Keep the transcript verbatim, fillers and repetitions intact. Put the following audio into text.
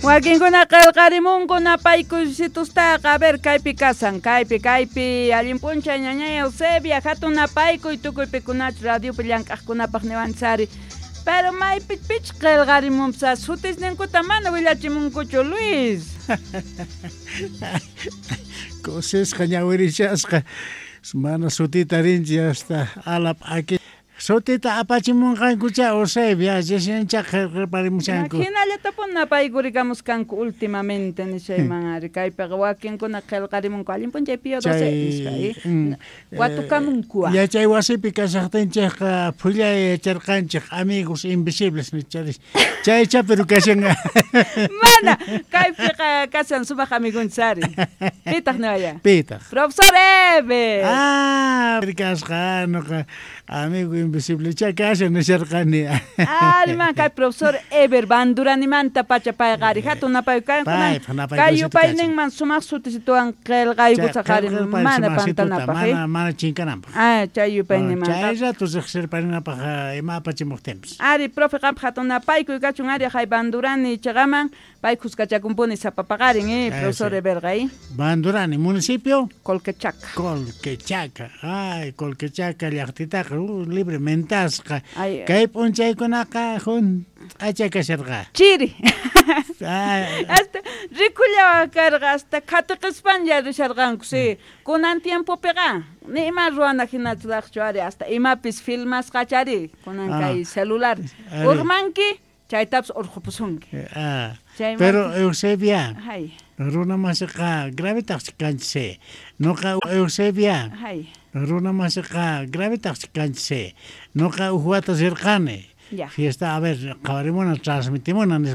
Wakinkuna qillqarimunku napaykuysitustaqa, a ver, kaypi kasan, kaypi, kaypi, allin p'unchay ñañay Eusebia, hatun napaykuy tukuy pikunachu radiopi llank'aqkunapaq niwanchari. Pero maypi pich qillqarimunpis sutisninkuta mana willachimunkuchu, Luis. Kusisqa ñawirishasqa mana sutita rinchi hasta alap aki sutita apachimunqankucha Eusebia reciencha qillqarparimushanku. Hinallatapuni napaykurikamuskanku últimamente nishayman ari kaypiqa wakinkuna qillqarimunku allin p'unchay Pío doce nispa Chay mm, watukamunku. Yachay wasipi kashaqtinchikqa phullay yacharqanchik amigos invisibles nicharis chaycha pero kashan. Mana kaypiqa kashan sumaq amigunchis ari. Pitaq niwaya? Pitaq? Profesor Eber. Ah, kasqa nuqa amigo invisible cha kashan nisharqani. Ari man kay profesor Eber Banduranimanta pacha payqa ari hatun napay kay yupayninman sumaq sutisituwan qillqaykusaq ari mana pantanapaq. Mana mana chinkananpaq. Ah, chay yupayninman. Chay rato riqsirparinapaq ima apachimuqtinpis. Ari profe qampaq hatun napaykuy kachun ari hay Bandurani chaqaman pay kuskachakunpuni sapa paqarin eh profesor Eberqa eh. Bandurani municipio Colquechaca. Colquechaca. Ay, Colquechaca llaqtitaqa uh, libre mentasqa. Kay p'unchaykunaqa hunt'acha kasharqa. Chiri. Hasta rikullawa karqa hasta qhatiqispanlla risharqanku sí. Kunan tiempopiqa ni ima ruwana hinachraqchu ari hasta imapis filmasqachari kunan kay celular. Urmanki chaytapas urqupusunki. Ah, pero Eusebia, runa masiqa gravetaqchi kanchis. Nuqa Eusebia, runa masiqa gravetaqchi kanchis. Nuqa huk wata rirqani. Fiesta, a ver, qhawarimuna, transmitimuna.